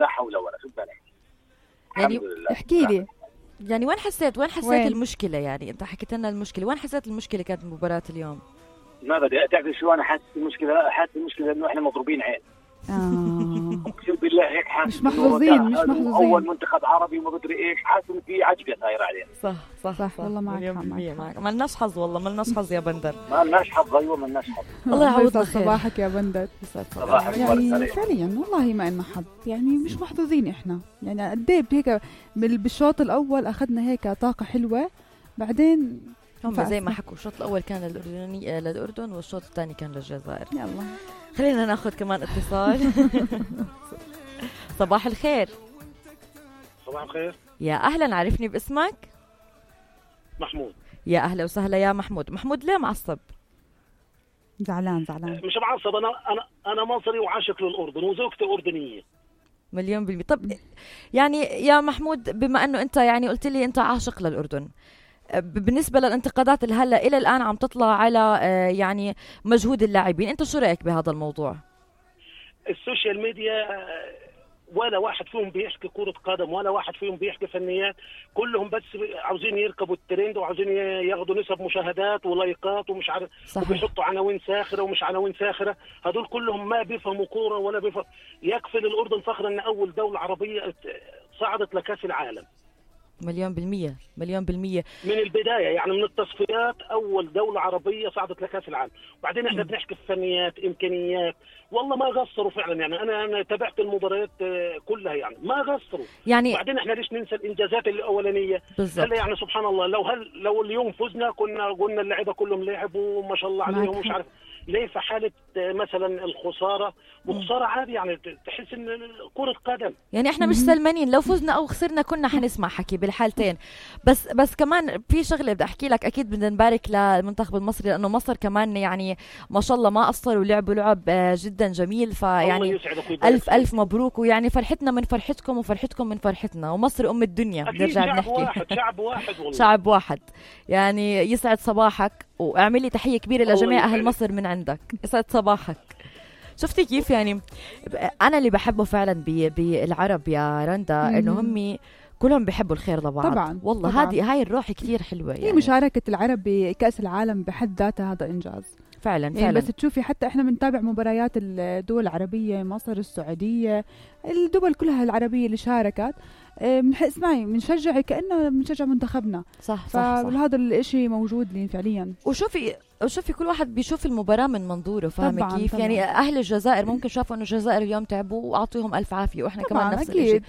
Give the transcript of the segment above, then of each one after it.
لا حول ولا قوة إلا يعني بالله. احكي لي يعني وين حسيت وين؟ المشكلة؟ يعني انت حكيت لنا المشكلة، وين حسيت المشكلة كانت مباراة اليوم؟ ما بدي تعرف شو انا حاسس المشكله انه احنا مضروبين عين. اقسم بالله هيك حاسس مش محظوظين اول منتخب عربي وما بدري ايش، حاسس ان في عجقه صايره علينا. صح والله معك ما لناش حظ، والله ما لناش حظ يا بندر. ما لناش حظ. ايوه ما لناش حظ. الله يعوضنا خير. صباحك يا بندر. صباحك يعني فعليا والله ما لنا حظ، يعني مش محظوظين احنا. يعني قد ايه هيك بالشوط الاول اخذنا هيك طاقه حلوه، بعدين هم زي ما حكوا الشوط الاول كان للاردن والشوط الثاني كان للجزائر. يلا خلينا ناخذ كمان اتصال. صباح الخير. صباح الخير. يا اهلا، عرفني باسمك. محمود. يا اهلا وسهلا يا محمود. ليه معصب؟ زعلان مش معصب، انا مصري وعاشق للاردن وزوجتي اردنيه. 100%. طب يعني يا محمود، بما انه انت يعني قلت لي انت عاشق للاردن، بالنسبة للانتقادات اللي هلا إلى الآن عم تطلع على يعني مجهود اللاعبين، أنت شو رأيك بهذا الموضوع؟ السوشيال ميديا ولا واحد فيهم بيحكي كرة قدم، ولا واحد فيهم بيحكي فنيات، كلهم بس عاوزين يركبوا الترند وعاوزين ياخدوا نسب مشاهدات ولايكات ومش عارف، وبيحطوا عناوين ساخرة ومش عناوين ساخرة. هدول كلهم ما بيفهموا كورة ولا بيفهم. يكفي للأردن فخر أن أول دولة عربية صعدت لكأس العالم. 100%. من البداية، يعني من التصفيات أول دولة عربية صعدت لكأس العالم. وبعدين احنا بنحكي في فنيات إمكانيات، والله ما قصروا فعلا. يعني أنا تابعت المباريات كلها، يعني ما قصروا. يعني وبعدين احنا ليش ننسى الإنجازات الأولانية؟ هلا يعني سبحان الله، لو اليوم فزنا كنا قلنا اللعيبة كلهم لعبوا وما شاء الله عليهم، مش عارف ليه في حالة مثلا الخسارة وخسارة عادي، يعني تحس ان كرة قدم. يعني احنا مش سلمانين، لو فزنا او خسرنا كنا حنسمع حكي بالحالتين. بس كمان في شغلة بدي احكي لك، اكيد بدنا نبارك للمنتخب المصري، لانه مصر كمان يعني ما شاء الله ما قصروا ولعبوا لعب جدا جميل. فيعني الف مبروك، ويعني فرحتنا من فرحتكم وفرحتكم من فرحتنا، ومصر ام الدنيا. نرجع نحكي شعب واحد والله. شعب واحد. يعني يسعد صباحك، واعملي تحية كبيرة لجميع اهل مصر من عندك. يسعد صباحك. شفتي كيف يعني انا اللي بحبه فعلا بالعرب يا رندا، انه هم كلهم بيحبوا الخير لبعض. طبعا والله هاي الروح كتير حلوة. يعني مشاركة العرب بكأس العالم بحد ذاتها هذا إنجاز فعلا. بس تشوفي حتى احنا بنتابع مباريات الدول العربية، مصر، السعودية، الدول كلها العربية اللي شاركت، اسمعي بنشجع كأنه بنشجع منتخبنا. صح. فهذا الاشي موجود لي فعليا. وشوفي كل واحد بيشوف المباراة من منظوره، فاهمة كيف؟ طبعاً. يعني أهل الجزائر ممكن شافوا إنه الجزائر اليوم تعبوا وأعطيهم ألف عافية، وإحنا كمان نفس الشيء.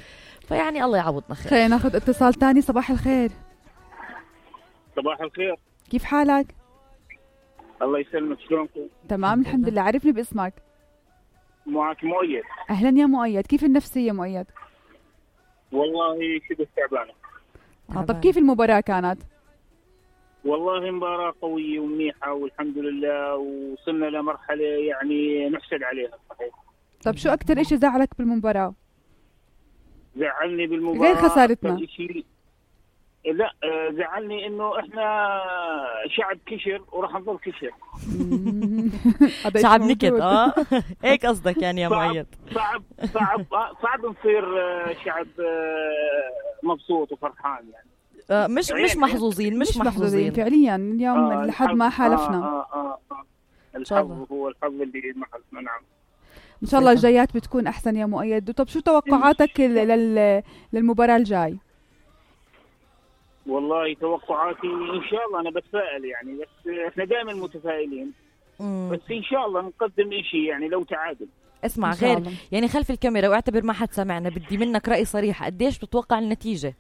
فيعني الله يعوضنا خير. خلينا ناخذ اتصال تاني. صباح الخير. صباح الخير. كيف حالك؟ الله يسلمك، شلونكم؟ تمام الحمد لله. عرفني باسمك. معك مؤيد. أهلا يا مؤيد، كيف النفسية مؤيد؟ والله شبه تعبانة. طب كيف المباراة كانت؟ والله مباراة قوية ومنيحة والحمد لله، وصلنا لمرحلة يعني نحسد عليها صحيح. طب شو أكتر إشي زعلك بالمباراة؟ زعلني بالمباراة غير خسارتنا. لا زعلني إنه إحنا شعب كشر وراح نضل كشر. شعب نكد. هيك قصدك يعني يا مؤيد؟ صعب نصير شعب مبسوط وفرحان يعني. مش محظوظين فعليا اليوم لحد ما حالفنا. الحظ هو الحظ اللي محلنا. نعم ان شاء الله الجايات بتكون احسن يا مؤيد. طب شو توقعاتك للمباراة الجاي؟ والله توقعاتي ان شاء الله انا بتفائل يعني، بس احنا دائما متفائلين. بس ان شاء الله نقدم اشي يعني لو تعادل. اسمع غير يعني خلف الكاميرا واعتبر ما حد سمعنا، بدي منك رأي صريح، قديش بتتوقع النتيجة؟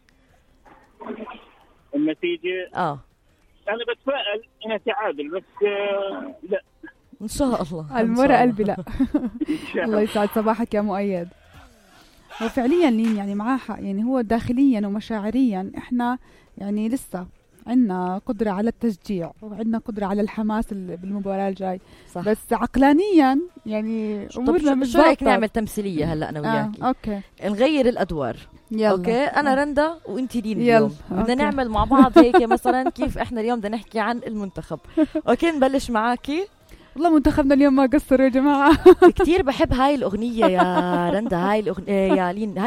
انا بتفائل انها تعادل، بس لا ان شاء الله. المرة قلبي لا. الله يسعد صباحك يا مؤيد. هو فعليا لين يعني معاه حق، يعني هو داخليا ومشاعريا احنا يعني لسه عندنا قدرة على التشجيع وعندنا قدرة على الحماس بالمباراة الجاي. صح. بس عقلانيا يعني امورنا مش شو رايك نعمل تمثيلية هلا انا وياكي؟ اوكي نغير الادوار. يلا. اوكي انا رندا وانت لين اليوم بدنا نعمل مع بعض هيك مثلا كيف احنا اليوم بدنا نحكي عن المنتخب. اوكي نبلش معاكي. والله منتخبنا اليوم ما قصروا يا جماعة. كتير بحب هاي الأغنية يا رندا، هاي الأغنية يا لين.